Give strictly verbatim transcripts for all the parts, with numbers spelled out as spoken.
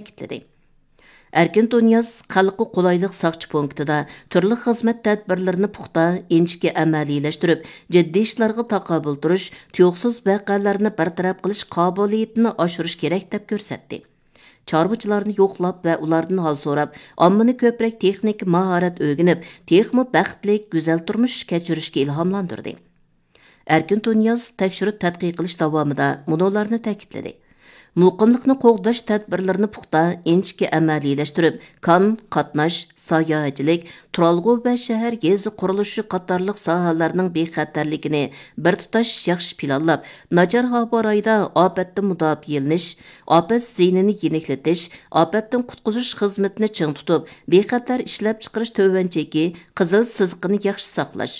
تەكىتلىدى. ئەركىن تۇنىياز خەلققە قولايلىق ساقچى پونكىتىدا تۈرلۈك خىزمەت تەدبىرلىرىنى پۇختا، ئىنچىكە ئەمەلىيلەشتۈرۈپ، جىددىي ئىشلارغا تاقابىل تۇرۇش، تۇيۇقسىز ۋەقەلەرنى بىر تەرەپ قىلىش قابىلىيىتىنى ئاشۇرۇش كېرەك، دەپ كۆرسەتتى. چارۋىچىلارنى يوقلاپ ۋە ئۇلاردىن ھال سوراپ، ئاممىنى كۆپرەك تېخنىكا ماھارەت ئۆگىنىپ، تېخىمۇ بەختلىك، گۈزەل تۇرمۇش كەچۈرۈشكە ئىلھاملاندۇردى. ئەركىن تۇنىياز تەكشۈرۈپ تەتقىق قىلىش داۋامىدا مۇنۇلارنى تەكىتلىدى: مۇقىملىقنى قوغداش تەدبىرلىرىنى پۇختا، ئىنچىكە ئەمەلىيلەشتۈرۈپ، كان، قاتناش، ساياھەتچىلىك، تۇرالغۇ ۋە شەھەر گېزى قۇرۇلۇشى قاتارلىق ساھەلەرنىڭ بىخەتەرلىكىنى بىر تۇتاش ياخشى پىلانلاپ، ناچار ھاۋا رايىدا ئاپەتتىن مۇداپىئەلىنىش، ئاپەت زىيىنىنى يېنىكلىتىش، ئاپەتتىن قۇتقۇزۇش خىزمىتىنى چىڭ تۇتۇپ، بىخەتەر ئىشلەپچىقىرىش تۆۋەن چېكى، قىزىل سىزىقىنى ياخشى ساقلاش،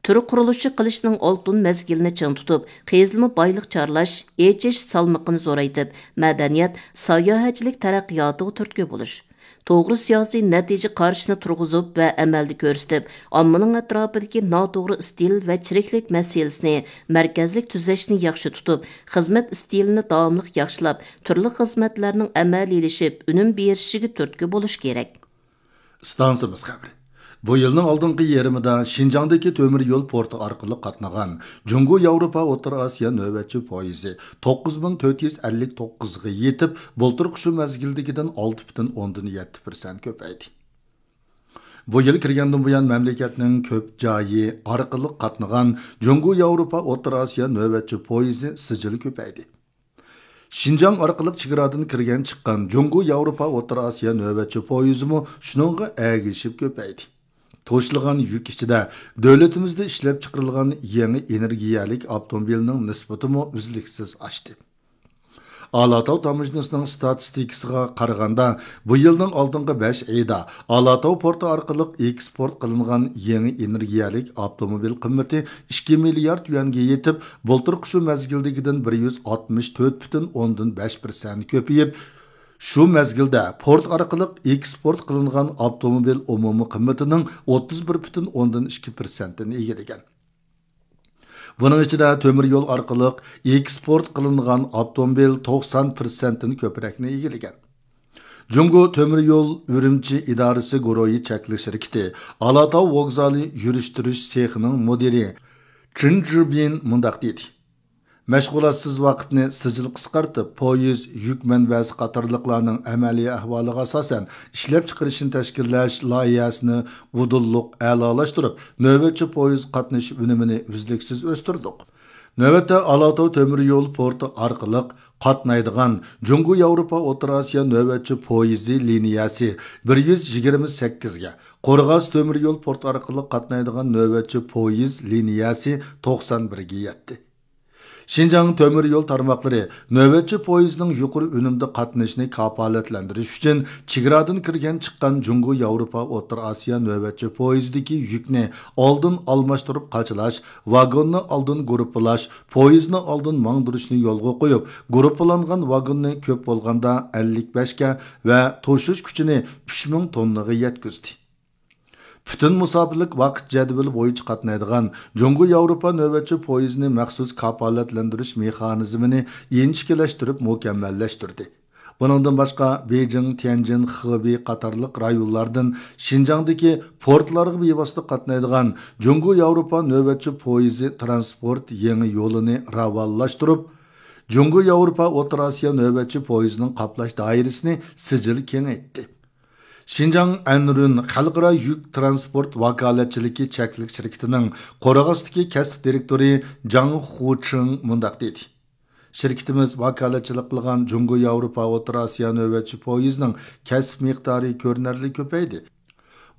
تۈر قۇرۇلۇشى قىلىشنىڭ ئالتۇن مەزگىلىنى چىڭ تۇتۇپ، قېزىلما بايلىق چارلاش، ئېچىش سالمىقىنى زورايتىپ، مەدەنىيەت، ساياھەتچىلىك تەرەققىياتىغا تۈرتكە بولۇش، توغرا سىياسىي نەتىجە قارىشىنى تۇرغۇزۇپ ۋە ئەمەلدە كۆرسىتىپ، ئاممىنىڭ ئەتراپىدىكى ناتوغرا ئىستىل ۋە چىرىكلىك مەسىلىسىنى مەركەزلىك تۈزەشنى ياخشى تۇتۇپ، خىزمەت ئىستىلىنى داۋاملىق ياخشىلاپ، تۈرلۈك خىزمەتلەرنىڭ ئەمەلىيلىشىپ، ئۈنۈم بېرىشىگە تۈرتكە بولۇش كېرەك. ئىستانسىمىز خەۋىرى. بۇ يىلنىڭ ئالدىنقى يېرىمىدا شىنجاڭدىكى تۆمۈر يول پورتى ئارقىلىق قاتنىغان جۇڭگو ياۋروپا ئوتتۇرا ئاسىيا نۆۋەتچى پويىزى توققۇز مىڭ تۆت يۈز ئەللىك توققۇزغا يېتىپ، بۇلتۇرقى شۇ مەزگىلدىكىدىن ئالتە پۈتۈن ئوندىن يەتتە پىرسەنت كۆپەيدى. بۇ يىل كىرگەندىن بۇيان، مەملىكەتنىڭ كۆپ جايى ئارقىلىق قاتنىغان جۇڭگو ياۋروپا ئوتتۇرا ئاسىيا نۆۋەتچى پويىزى سىجىل كۆپەيدى. شىنجاڭ ئارقىلىق چېگرادىن كىرگەن چىققان جۇڭگو ياۋروپا ئوتتۇرا ئاسىيا نۆۋەتچى پويىزىمۇ شۇنىڭغا ئەگىشىپ كۆپەيدى. توشۇلغان يۈك ئىچىدە دۆلىتىمىزدە ئىشلەپچىقىرىلغان يېڭى ئېنېرگىيەلىك ئاپتوموبىلنىڭ نىسبىتىمۇ ئۈزلۈكسىز ئاشتى. ئالاتاۋ تاموژنىسىنىڭ ستاتىستىكىسىغا قارىغاندا، بۇ يىلنىڭ ئالدىنقى بەش ئېيىدا ئالاتاۋ پورتى ئارقىلىق ئېكسپورت قىلىنغان يېڭى ئېنېرگىيەلىك ئاپتوموبىل قىممىتى ئىككى مىليارد يۈەنگە يېتىپ، بۇلتۇرقى شۇ مەزگىلدىكىدىن بىر يۈز ئاتمىش تۆت پۈتۈن ئوندىن بەش پىرسەنت كۆپىيىپ، شۇ مەزگىلدە پورت ئارقىلىق ئېكسپورت قىلىنغان ئاپتوموبىل ئومۇمىي قىممىتىنىڭ ئوتتۇز بىر پۈتۈن ئوندىن ئىككى پىرسەنتىنى ئىگىلىگەن. بۇنىڭ ئىچىدە تۆمۈر يول ئارقىلىق ئېكسپورت قىلىنغان ئاپتوموبىل توقسان پىرسەنتتىن كۆپرەكنى ئىگىلىگەن. جۇڭگو تۆمۈر يول ئۈرۈمچى ئىدارىسى گۇرۇھى چەكلىك شىركىتى ئالاتاۋ ۋوگزالى يۈرۈشتۈرۈش سېخىنىڭ مۇدىرى چېن جىبىن مۇنداق دېدى: مەشغۇلاتسىز ۋاقىتنى سىجىل قىسقارتىپ، پويىز، يۈك مەنبەسى قاتارلىقلارنىڭ ئەمەلىي ئەھۋالىغا ئاساسەن ئىشلەپچىقىرىشنى تەشكىللەش لايىھەسىنى ئۇدۇللۇق ئەلالاشتۇرۇپ، نۆۋەتچى پويىز قاتنىشى ئۈنۈمىنى ئۈزلۈكسىز ئۆستۈردۇق. نۆۋەتتە ئالاتاۋ تۆمۈر يول پورتى ئارقىلىق قاتنايدىغان جۇڭگو ياۋروپا ئوتتۇرا ئاسىيا نۆۋەتچى پويىزى لىنىيەسى بىر يۈز يىگىرمە سەككىزگە، قورغاس تۆمۈر يول پورتى ئارقىلىق قاتنايدىغان نۆۋەتچى پويىز لىنىيەسى توقسان بىرگە يەتتى. شىنجاڭ تۆمۈر يول تارماقلىرى نۆۋەتچى پويىزنىڭ يۇقىرى ئۈنۈمدە قاتنىشىنى كاپالەتلەندۈرۈش ئۈچۈن، چېگرادىن كىرگەن چىققان جۇڭگو ياۋروپا ئوتتۇرا ئاسىيا نۆۋەتچى پويىزىدىكى يۈكنى ئالدىن ئالماشتۇرۇپ قاچىلاش، ۋاگوننى ئالدىن گۇرۇپپىلاش، پويىزنى ئالدىن ماڭدۇرۇشنى يولغا قويۇپ، گۇرۇپپىلانغان ۋاگوننى كۆپ بولغاندا ئەللىك بەشكە ۋە توشۇش كۈچىنى ئۈچ مىڭ توننىغا يەتكۈزدى. پۈتۈن مۇساپىلىك ۋاقىت جەدۋىلى بويىچە قاتنايدىغان جۇڭگو ياۋروپا نۆۋەتچى پويىزىنى مەخسۇس كاپالەتلەندۈرۈش مېخانىزمىنى ئىنچىكىلەشتۈرۈپ مۇكەممەللەشتۈردى. بۇنىڭدىن باشقا، بېيجىڭ، تيەنجىن، خېبېي قاتارلىق رايونلاردىن شىنجاڭدىكى پورتلارغا بىۋاسىتە قاتنايدىغان جۇڭگو ياۋروپا نۆۋەتچى پويىزى ترانسپورت يېڭى يولىنى راۋانلاشتۇرۇپ، جۇڭگو ياۋروپا ئوتتۇرا ئاسىيا نۆۋەتچى پويىزىنىڭ قاپلاش دائىرىسىنى سىجىل كېڭەيتتى. شىنجاڭ ئەنرۈن خەلقئارا يۈك ترانسپورت ۋاكالەتچىلىكى چەكلىك شىركىتىنىڭ قورغاستىكى كەسىپ دىرېكتورى جاڭ خۇچىڭ مۇنداق دېدى: شىركىتىمىز ۋاكالەتچىلىك قىلغان جۇڭگو ياۋروپا ئوتتۇرا ئاسىيا نۆۋەتچى پويىزىنىڭ كەسىپ مىقدارى كۆرۈنەرلىك كۆپەيدى.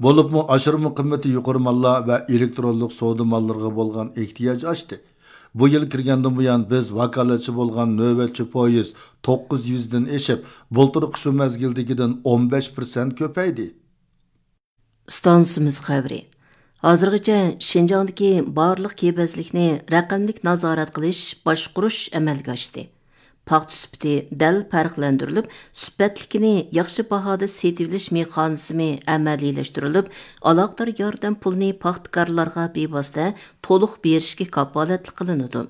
بولۇپمۇ ئاشۇرما قىممىتى يۇقىرى ماللار ۋە ئېلېكترونلۇق سودا ماللىرىغا بولغان ئېھتىياج ئاشتى. بۇ يىل كىرگەندىن بۇيان، بىز ۋاكالەتچى بولغان نۆۋەتچى پويىز توققۇز يۈزدىن ئېشىپ، بۇلتۇرقى شۇ مەزگىلدىكىدىن ئون بەش پىرسەنت كۆپەيدى. ئىستانسىمىز خەۋىرى. ھازىرغىچە شىنجاڭدىكى بارلىق كېبەزلىكنى رەقەملىك نازارەت قىلىش، باشقۇرۇش ئەمەلگە ئاشتى. پاختا سۈپىتى دەل پەرقلەندۈرۈلۈپ، سۈپەتلىكىنى ياخشى باھادا سېتىۋېلىش مېخانىزمى ئەمەلىيلەشتۈرۈلۈپ، ئالاقىدار ياردەم پۇلىنى پاختىكارلارغا بىۋاسىتە تولۇق بېرىشكە كاپالەتلىك قىلىنىدۇ.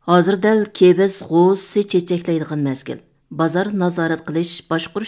ھازىر دەل كېۋەز غوزىسى چېچەكلەيدىغان مەزگىل. بازار نازارەت قىلىش، باشقۇرۇش